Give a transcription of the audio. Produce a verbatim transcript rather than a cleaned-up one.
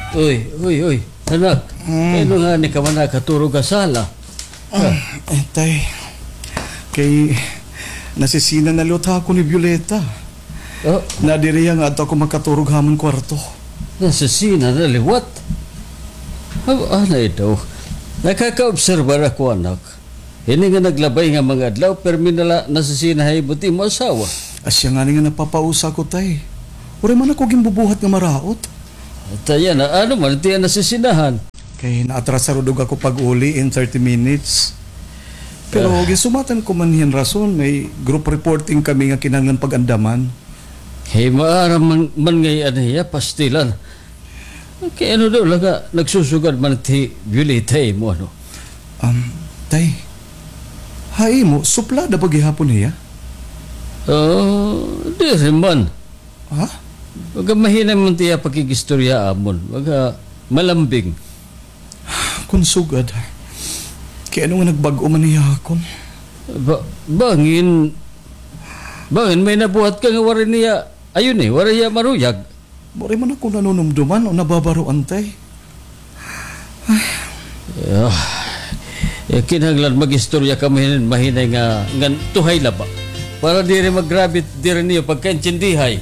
Uy, uy, uy, anak. Mm. Kay ano ngani ka man nakaturog ha sala? Ah, eh, tay, kay nasisina na liwat ha akon hi Violeta. Oh. Nadiri hiya nga adto ako makaturog ha amon kwarto. Nasisina na liwat? Ah, anay daw. Nakakaobserbar ako, anak. Ini nga naglabay nga mga adlaw, pirmi na la nasisina ha imo it imo asawa. Asya ngani nga napapausa ako, tay. Waray man ako ginbubuhat nga maraot. Tay, yana, ano man it iya nasisinahan? Kay naatrasar udog ako pag-uli in thirty minutes. Pero Ah. ginsumatan ko man hiya hin rason, may group reporting kami nga kinahanglan pag-andaman. Hay, maaram man, man ngay-an hiya, pastilan. Kay ano daw la nga nagsusugad man it hi Violeta ha imo, ano? Um, tay, ha imo, suplada ba gihapon hiya? Oh, diri man. Ha? Baga mahinay man it iya pakig-istorya ha amon. Baga malambing. Kon sugad, kay ano nga nagbag-o man hiya ha akon? Ba-, bangin, bangin may nabuhat ka nga waray niya, ayun eh, waray hiya maruyag. Waray man ako nanunumduman o nababaroan, tay. Ah, eh, kinahanglan mag-istorya kamo hin mahinay nga, ngan tuhay la ba. Para diri magrabe it diri niyo pagkaintindihay.